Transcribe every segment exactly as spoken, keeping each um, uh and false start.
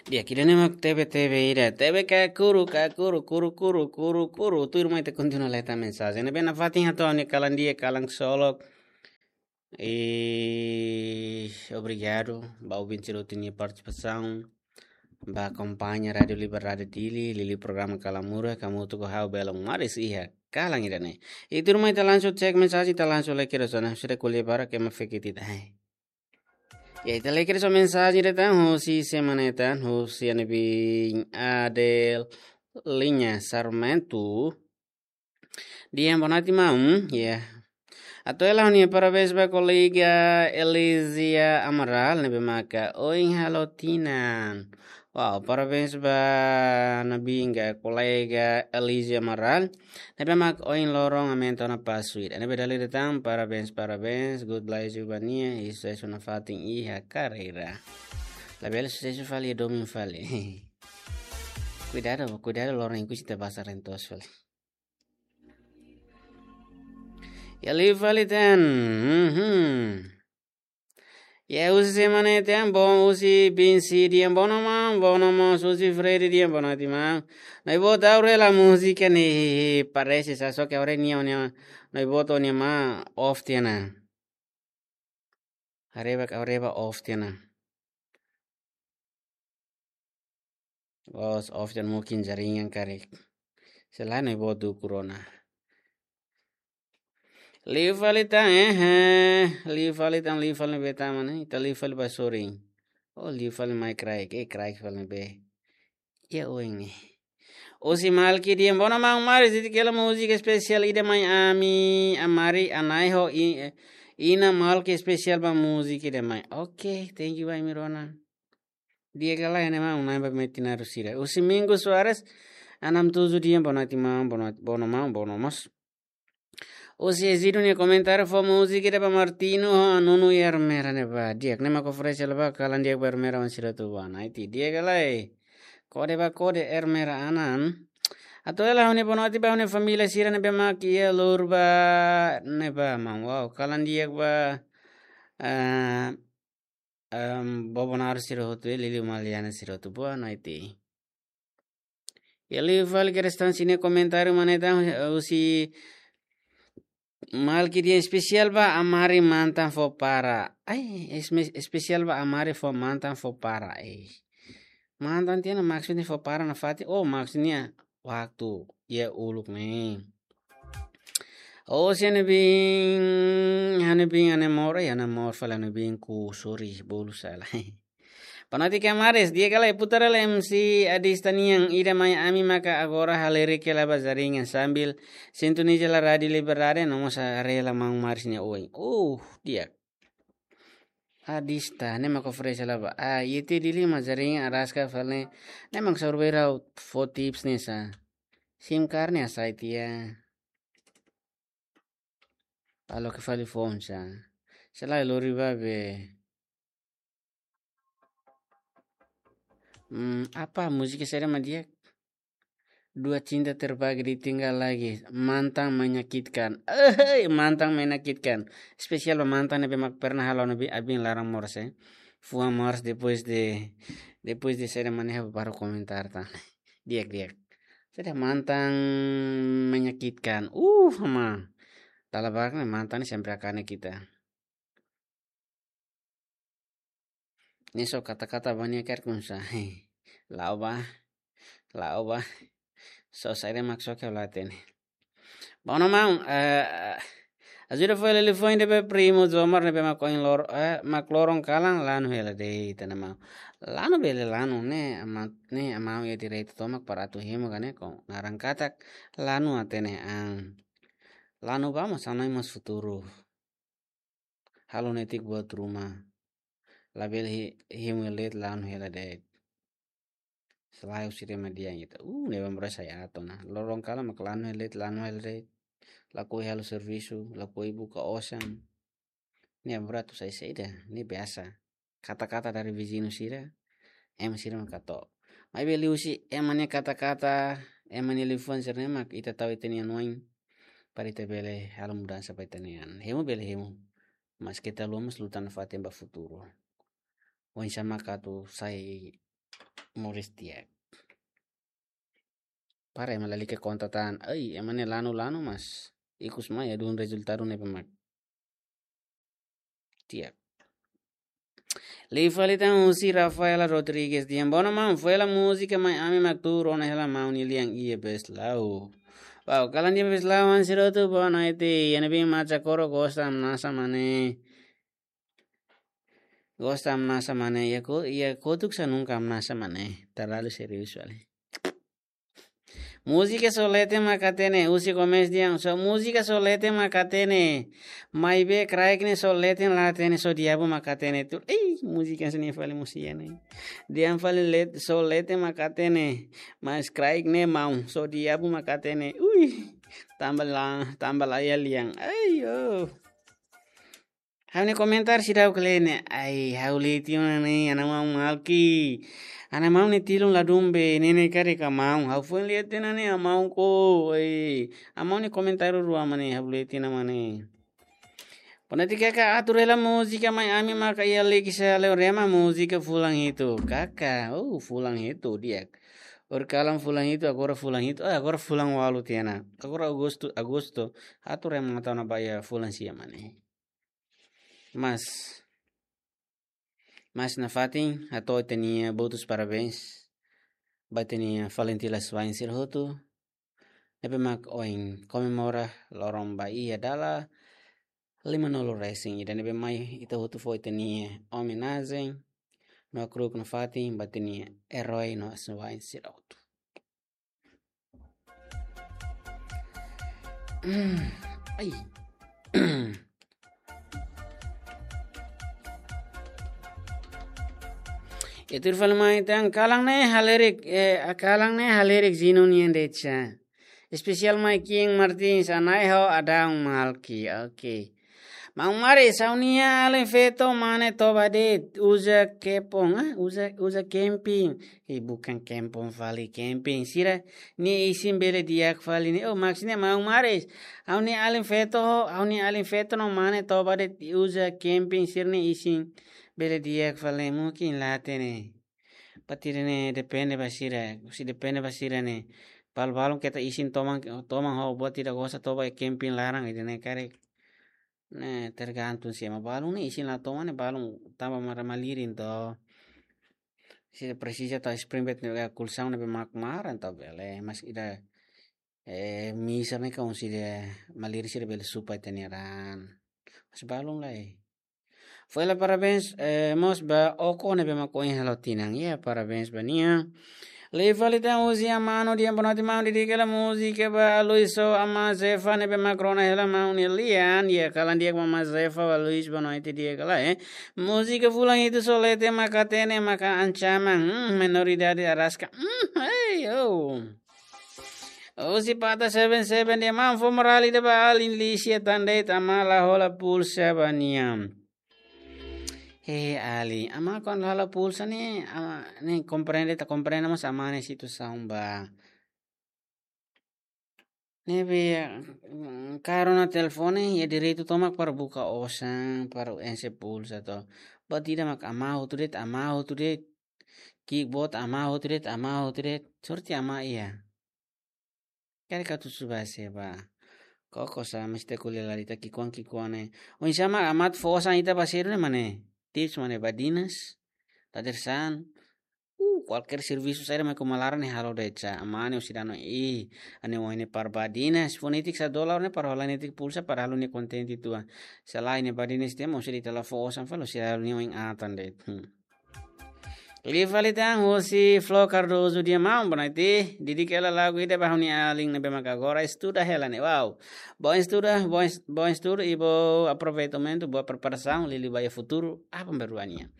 Di'ak, ida-ne'e mak T V, T V ida. T V ka kuru, ka kuru, kuru, kuru, kuru, kuru. Tuirmai ita kontinua lee tan mensajen. Ne'ebé nafatin hato'o ha'u-nia kalan di'ak, kalan ksolok. E obrigadu ba ouvinte sira hotu nia partisipasaun. Ba akompaña Rádiu Liberdade Dili, liuliu programa Kalamurus, hamutuk ho ha'u Belon Maris iha kalan ida-ne'e. I tuirmai ita langsung cek mensajen, ita langsung lee kedas ona, sira ko'alia barak ema fekit ita. Hai. Ya, ita lee kedas ona mensajen ida tan, husi semana ida tan, husi ami-nia Adel Liña Sarmento. Di'ak, boa noite, maun. Ya. Atu hela ha'u-nia parabéns ba kolega Elisia Amaral, ne'ebé maka oin halo tinan. Wow, parabéns ba ami-nia kolega Elisia Amaral. Ne'ebé mak oin loron aumenta ona pasu ida. Ne'ebé dala ida tan, parabéns, parabéns. God bless you ba nia, i susesu nafatin iha karreira. Labele susesu fali, domin fali. Kuidadu, kuidadu loron ikus ita basa rentos fali. Ya, liu fali tan. Mhm. Ya, husi semana ida tan, bom, husi Binsi di'ak, boa noite maun, boa noite maun, husi Freddy di'ak, boa noite maun. Nai bota aure la música ni parese sa, só que aure nia, nia, nai bota nia ma off tiha ona. Haree bá, haree bá off tiha ona. Os off tiha ona, mungkin jaringan karik. Selain nai bota corona. Liu fali tan, eh, eh. Liu fali tan, liu fali ne'ebé tan mana? Ita liu fali ba sorin. Oh, liu fali mai kraik, eh, kraik fali ne'ebé. Ya, oin ne'e. Husi Malki di'ak, boa noite maun Maris, dehan katak múzika espesiál ida mai ami, Amari, Anai ho i-, Ina Malki espesiál ba múzika ida mai. Oke, thank you, Ami Rona. Di'ak ka lae, ne'e maun, Nai ba metin arus sira. Husi Mingo Soares, enam tujuh di'ak, boa noite maun, boa noite, boa noite maun, boa noite mós. Husi Ezido nia komentáriu, fó múzika ida ba Martino ho Nuno i Ermera ne'ebá. Di'ak, ne'e mak oferese hela ba, kalan di'ak ba Ermera oan sira hotu ba. Nai ti di'ak ka lae. Kode ba kode Ermera anan. Atu hela ha'u-nia boa noite ba ha'u-nia família sira ne'ebé mak iha Lurba ne'ebá maun. Wow, kalan di'ak ba, eh, em, Bobo Naru sira hotu, eh, Lili Maliana sira hotu. Boa noite. Ya, liu fali kedas tan sira-nia komentáriu, mana ita, eh, husi Malki dehan espesiál ba Amari mantan fó para. Ai, esme-, espesiál ba Amari fó mantan fó para. Eh. Mantan tiha ona maksudnya fó para nafatin. Oh, maksudnya waktu. Ya, uluk ne'e. Oh, si Anebin, Anebin, Anemor, eh, Anemor fali Anebin ku, sorry, bolu sala. Boa noite, Kamaris. Di'ak ka lae, putar hela M C Adista nian, ida mai ami maka agora halerik hela ba jaringan sambil sintoniza hela Rádiu Liberdade, no mós haree hela maun Maris nia oin. Uh, di'ak. Adista, ne'e mak oferese hela ba. Ah, iha Dili mak jaringan araska fali. Ne'e mak saur bera fó tips ne'e sa. Sim card ne'e hasai tiha. Halo ke fali fon sa. Selae lori ba be. Hmm, apa múzika saida mak di'ak? Dua cinta terbagi ditinggal lagi. Mantan menyakitkan. Eh, mantan menyakitkan. Espesiál ba mantan ne'ebé mak pernah halo ne'ebé abin laran moras, eh. Fuan moras depois de, depois de saida mak ne'e baru komentar tan. Di'ak, di'ak. Saida mantan menyakitkan. Uh, ma. Dala barak ne'e mantan ne'e sempre hakane ita. Ne'e só kata-kata ba nia karik kunsa. La'o ba. La'o ba. Só saida mak só ke la hatene. Boa noite maun, eh, ajuda fó hela liafuan ida ba primo Jomar ne'ebé mak oin lor-, eh, mak loron kalan lanu hela de'it, hatene maun. Lanu bele lanu ne'e, ama-, ne'e amau iha direitu tomak para atu hemu ka ne'e, ko naran katak lanu hatene an. Lanu ba mós hanoin mós futuru. Halo netik buat ruma. Labele hi-, hemu hela de'it, lanu hela de'it. Selae husi ida mak di'ak ita. Uh, ne'e ba moras sai ato na. Loron kalan mak lanu hela de'it, lanu hela de'it. Lakohi halo servisu, lakohi buka osan. Ne'e ba moras atu sai saida, ne'e biasa. Kata-kata dari viziñu sira, ema sira mak hato'o. Maibé liuhusi ema nia kata-kata, ema nia liafuan sira-ne'e mak ita tau ita-nia an oin, para ita bele halo mudansa ba ita-nia an. Hemu bele hemu. Mas keta haluha mós luta nafatin ba futuru. Oinsá mak atu sai Moris tiha. Para ema lalika konta tan. Ai, ema ne'e lanu-lanu mas ikus mai ladún rezultadu ne'ebé mak tiha. Liu fali tan husi Rafaela Rodrigues dehan: "Bono maun, foin hela múzika mai ami mak tuur ona hela maun nia lian iha Beslau." Wow, kalan iha Beslau, hanesan hotu boa noite. Iha ne'ebé mak Chacoro gosta hamnasa mane. Gosta hamnasa mane. Iha ko-, iha kotuk sa nunka hamnasa mane. Terlalu serius fali. Múzika só leten mak hatene, husi komesa dehan, só múzika só leten mak hatene. Maibé kraik ne'e só leten la hatene, só diabu mak hatene. Tu, ei, múzika sini fali musia ne'e. Dehan fali let-, só leten mak hatene. Mas kraik ne'e maun, só diabu mak hatene. Ui, tanba la, tanba la iha lian. Ai, oh. Ha'u-nia komentar seidauk lee ne'e. Ai, ha'u lee tiha ona ne'e, ana maun Malki. Ana maun ne'e tilun ladún be, ne'e ne'e karik maun. Ha'u foin lee tiha ona ne'e, maun ko. Ai, maun nia komentar rua mane, ha'u lee tiha ona mane. Pone ti kaka atur hela múzika mai ami maka iha liki sa leo rema múzika fulan hitu. Kaka, oh, fulan hitu di'ak. Ohin kalan fulan hitu, agora fulan hitu. Ah, agora fulan ualu tiha ona. Agora agostu, agostu. Atur rema tau na ba iha fulan sia mane. Mas, mas nafatin, hato'o ita-nia botus parabéns ba ita-nia Valentila Swain sira hotu. Ne'ebé mak ohin komemora loron ba iha dala lima-nulu resin ida ne'ebé mai ita hotu fó ita-nia omenajen no hakru'uk nafatin ba ita-nia erói no Swain sira hotu. Mm, ai. Ita fali mai tan kalan ne'e halerik, eh, kalan ne'e halerik Zinu nian de'it sa. Espesiál mai King Martins, anai ho Adão Malki. Oke. Maun Maris, ha'u-nia alin feto mane toba de'it, uza kempong, ah, uza, uza kemping. Ih, bukan kempong fali, kemping. Sira-nia isin bele di'ak fali ne'e. Oh, maksudnya Maun Maris. Ha'u-nia alin feto, ha'u-nia alin feto no mane toba de'it uza kemping, sira-nia isin bele di'ak fali ne'e. Mungkin la hatene. Patiri ne'e depende ba sira, se depende ba sira ne'e. Balu-balun keta isin toman, toman ho buat ida gosta toba iha kemping laran ida ne'e karik. Ne'e tergantung se ema balun ne'e isin la toman ne'e balun tanba mara malirin to. Se presiza tau spring bed ne'e ka kulsaun ne'ebé mak maran tau bele, mas ida, eh, misa ne'e ka un sida malirin sida bele supa ita-nia raan. Mas balun lai. Foin hela parabéns, eh, mós ba Oko ne'ebé mak ohin halo tinan. Ya, parabéns ba nia. Liu fali tan husi Amano dehan boa noite maun, dedika hela múzika ba Luis ho Ama Zefa ne'ebé mak rona hela maun nia lian. Ya, kalan di'ak ba Ama Zefa, ba Luis, boa noite di'ak hela, eh. Múzika fulan hitu só leten mak hatene, maka ancaman. Hmm, menoridade araska. Hmm, hey, oh. Husi Pata Seven Seven dehan maun fó morál ida ba alin lisia tan de'it, amá la hola pulsa ba nia. He, alin, amá kuandu la hola pulsa ne'e, amá ne'e komprende, ita komprende mós amá nia situasaun ba. Ne'ebé, mm, karik rona telefone, iha direitu tomak para buka osan, para enxe pulsa to. Buat ida mak amá hotu de'it, amá hotu de'it. Ki'ik boot amá hotu de'it, amá hotu de'it. Sorte amá iha. Karik atu suba seba. Koko sa mesti kuliah lalita ki'ikoan ki'ikoan ne'e. Oinsá mak amá atu fó osan ita ba sira ne'e mane. Tips mane badinas. Tater saan. Uh, kualkér servisu saida mak uma laran ne'e halo de'it sa. Amá ne'e husi dano i. Ane wai ne'e para badinas. Fó netik sa dolar ne'e para hola netik pulsa para halo nia kontente tua. Selain ne'e badinas ita mós ita la fó osan fali husi halo nia oin atan de'it. Hmm. Liu fali tan husi Flo Cardoso dehan maun, boa noite. Dedika hela lagu ida ba ha'u-nia alin ne'ebé maka agora estuda hela ne'e. Wow. Bom estuda, bom es-, bom estudo e bom aproveitamento, boa preparasaun, liuliu ba iha futuru, aban-bainrua nian.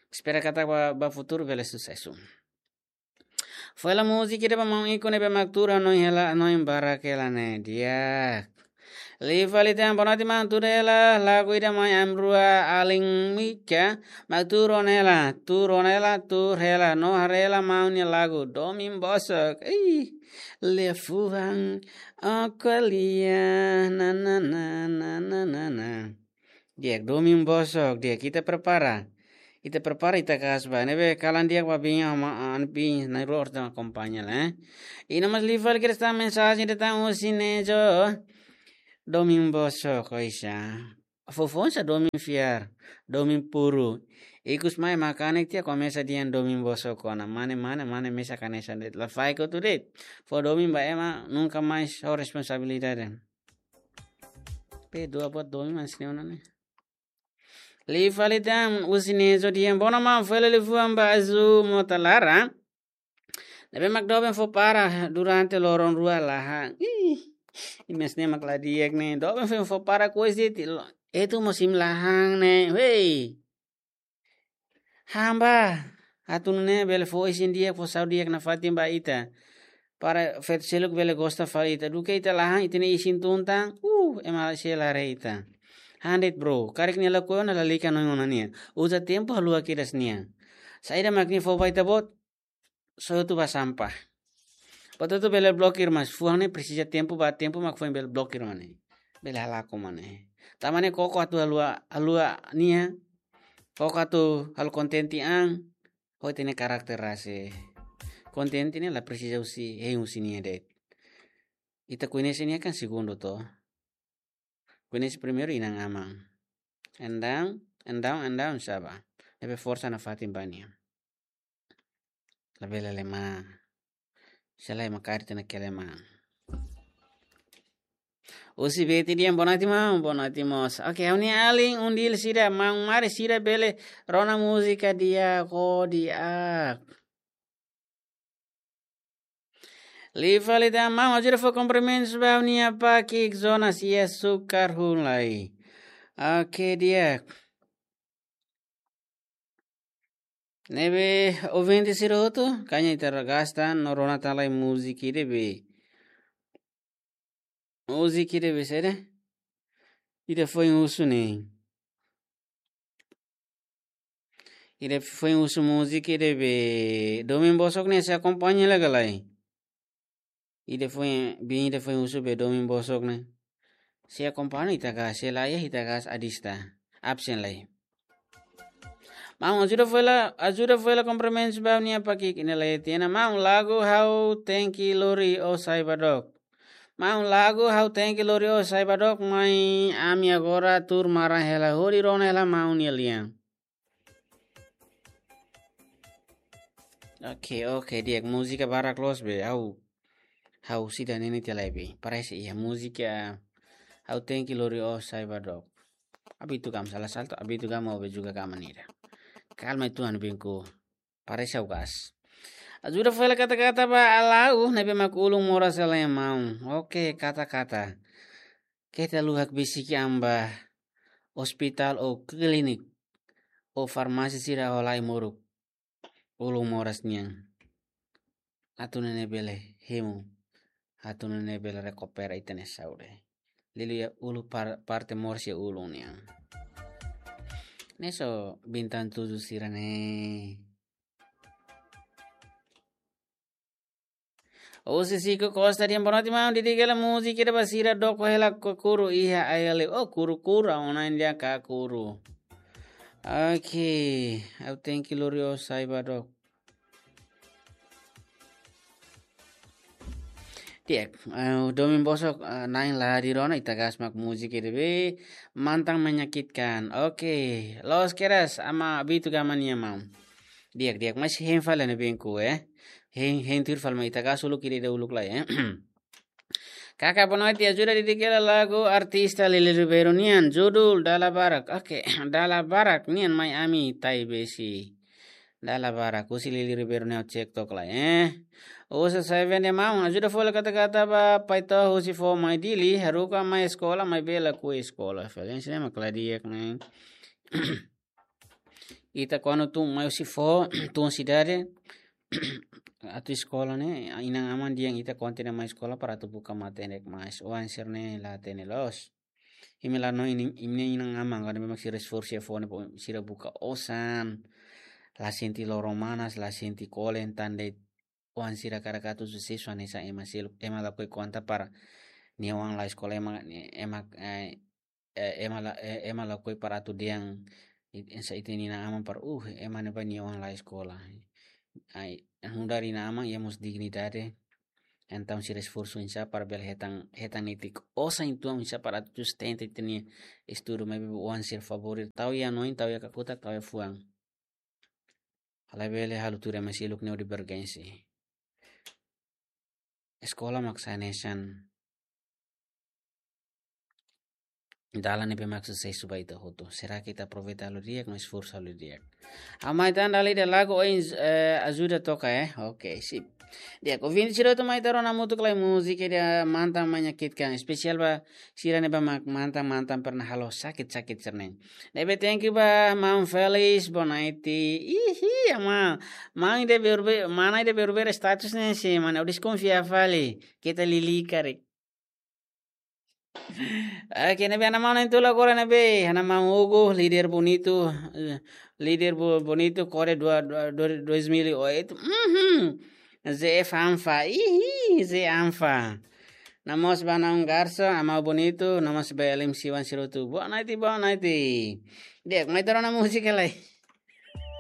Espera katak ba, ba futuru bele susesu. Foin hela múzika ida ba maun Iko ne'ebé mak tuur hanoin hela, hanoin barak hela ne'e. Di'ak. Liu fali tan, boa noite maun, tuur hela lagu ida mai ami-rua alin Mika, mak tuur ona hela, tuur ona hela, tuur hela, no haree hela maun nia lagu, Domin Bosok. Ih, liafuan, ó ko'alia, na, na, na. Di'ak, Domin Bosok, di'ak, ita prepara. Ita prepara ita kaas ba. Ne'ebé kalan di'ak ba biin ama an biin na rua orta akompaña la, eh. Ina mas liu fali kedas tan mensajen ida tan husi Nejo. Domin bosok, oisá. Foufoun sá domin fiar, domin puru. Ikus mai ema kanek tiha komesa dehan domin bosok ona. Mane, mane, mane mesak hanesan de'it. La faek hotu de'it. Fó domin ba ema, nunka mais ho responsabilidade. Pe dua buat domin mas ne'e ona ne'e. Liu fali tan husi Nejo dehan: Bona maun, fali liafuan ba Azu mota laran. Ne'ebé mak doben fó para durante loron rua lahan. Ih, imi-nia ne'e mak la di'ak ne'e. Doben fó, fó para kois de'it. Etu mós imi la han ne'e. Hei. Han ba. Atu nune'e bele fó isin di'ak, fó saúde di'ak nafatin ba ita. Para feto seluk bele gosta fali ita. Duké ita la han, ita-nia isin tun tan. Uh, ema sei la haree ita. Han de'it bro. Karik nia lakohi ona, lalika hanoin ona nian. Uza tempu haluha kedas nia. Saida mak nia fó ba ita-boot? Só atu ba sampah. Buat hotu bele blokir, mas fuan ne'e presiza tempu, ba tempu mak foin bele blokir mane. Bele halakon mane. Tanba ne'e koko atu haluha, haluha nia. Koko atu halo kontente an. Ho ita-nia karakter rasik. Kontente ne'e la presiza husi, hein husi nia de'it. Ita koñese nia kan segundu to. Koñese primeiru inan-aman. Entaun, entaun, entaun sá ba. Ne'ebé forsa nafatin ba nia. Labele lema. Se lae mak kaer ita-nia keleman. Husi Beti dehan boa noite maun, boa noite mós. Oke, ha'u-nia alin Undil sira, maun mari sira bele rona múzika di'ak, oh di'ak. Liu fali tan maun, ajuda fó kumprimentus ba ha'u-nia pakik zona sia sukar hun lai. Oke, di'ak. Ne'ebé ouvinte sira hotu, kaña ita ragasta, no rona tan lai múzika ida be. Múzika ida be saida? Ida foin husu ne'e. Ida foin husu múzika ida be. Domin bosok ne'e sei akompaña la ka lae. Ida foin, biin ida foin husu be domin bosok ne'e. Sei akompaña ita kaas, se lae ita kaas adista. Absen lai. Maun ajuda fó hela, ajuda fó hela kumprimentus ba ha'u-nia pakik ida lai tiha ona. Maun lagu ha'u tenke lori ó sai ba dook. Maun lagu ha'u tenke lori ó sai ba dook, mai ami agora tuur maran hela hodi rona hela maun nia lian. Oke, oke, di'ak múzika barak loos be, ha'u, ha'u seidauk hatene tiha lai be. Parese iha múzika ha'u tenke lori ó sai ba dook. Abitu gama sala salto, abitu gama ó be juga gama nira. Kalma itu anu bingku. Parese ha'u gas. Ajuda fó hela kata-kata ba Alau, ne'ebé mak ulun moras hela iha maun. Oke, kata-kata. Keta luhak besik an ba ospitál ou klínika ou farmásia sira ho lai-moruk. Ulun moras nian. Atu nune'e bele hemu. Atu nune'e bele rekupera ita-nia saúde. Liuliu iha ulun par-, parte moras iha ulun nian. Ne'e só Bintang Tujuh sira ne'e. Husi Siko Costa dehan boa noite maun, didik hela múzika ida ba sira dook hela kakuru iha ai-haleu. Oh, kuru-kuru, ha'u hanoin dehan kakuru. Oke, ha'u tenke lori ó sai ba dook. Di'ak, eh, domin bosok, eh, na'in la hadir ona, ita kaas mak múzika ida be, Mantan Menyakitkan. Oke, loos kedas, ama abitu gama nia maun. Di'ak, di'ak, mas hein fali ne'e bingku, eh. Hein, hein tuir fali mai ita kaas uluk ida-ida uluk lai, eh. Kaka boa noite, ajuda didik hela lagu artista Lili Ribeiro nian, judul Dala Barak. Oke, Dala Barak nian mai ami tai besi. Dala Barak, husi Lili Ribeiro nian cek tok lai, eh. Husi Seven dehan maun, ajuda fó hela kata-kata ba Paitoh husi foho mai Dili, haruka mai eskola, maibé lakohi eskola. Felens ne'e mak la di'ak ne'e. Ita kuandu tun mai husi foho, tun sidade, atu eskola ne'e, inan-aman dehan ita kontinua mai eskola para atu buka matenek, mas oan sira ne'e la hatene loos. Imi la hanoin, imi-nia inan-aman, kuandu memang sira esforsu iha foho ne'e, sira buka osan, la sente loron manas, la sente kolen, tan de'it oan sira karik atu susesu hanesan ema seluk, ema lakohi konta para nia oan la eskola, ema, ema, eh, eh, ema la, eh, ema lakohi para atu dehan Hanesan ita-nia inan-aman para, uh, ema ne'ebá nia oan la eskola. Ai, nu'udar inan-aman iha mós dignidade. Entaun sira esforsu oinsá para bele hetan, hetan netik osan uitoan oinsá para atu sustenta ita-nia estudu, maibé oan sira favór ida, tau iha hanoin, tau iha kakutak, tau iha fuan. Labele halo tuir ema seluk nia divergénsia. Eskola mak sai hanesan dalan ne'ebé mak susesu ba ita hotu. Será que ita aproveita halo di'ak, no esforsu halo di'ak? Ha'u mai tan dala ida lagu ohin, eh, ajuda toka, eh. Oke, sip. Di'ak, ouvinte sira hotu, mai ita rona hamutuk lai múzika ida Mantan Menyakitkan. Espesiál ba sira ne'ebé mak mantan-mantan pernah halo sakit-sakit sira-ne'e. Ne'ebé thank you ba maun Felix Bonaiti. Ihi, ama. Maun ida berbe-, mana ida berubah status ne'e sih, mana? Deskonfia fali. Keta lili karik. Oke, ne'ebé ha'u-nia maun na'in-tolu agora ne'ebé, ha'u-nia maun Hugo, líder bonitu, eh, líder bo-, bonitu, kore dua, dua, dua, dois mil e oito. Mhm. Ze Fanfa, ihi, Ze Fanfa. No mós ba naun Garso, Amau Bonitu, no mós ba Elim Siwan Sirutu. Boa noite, boa noite. Di'ak, mai ita rona múzika lai.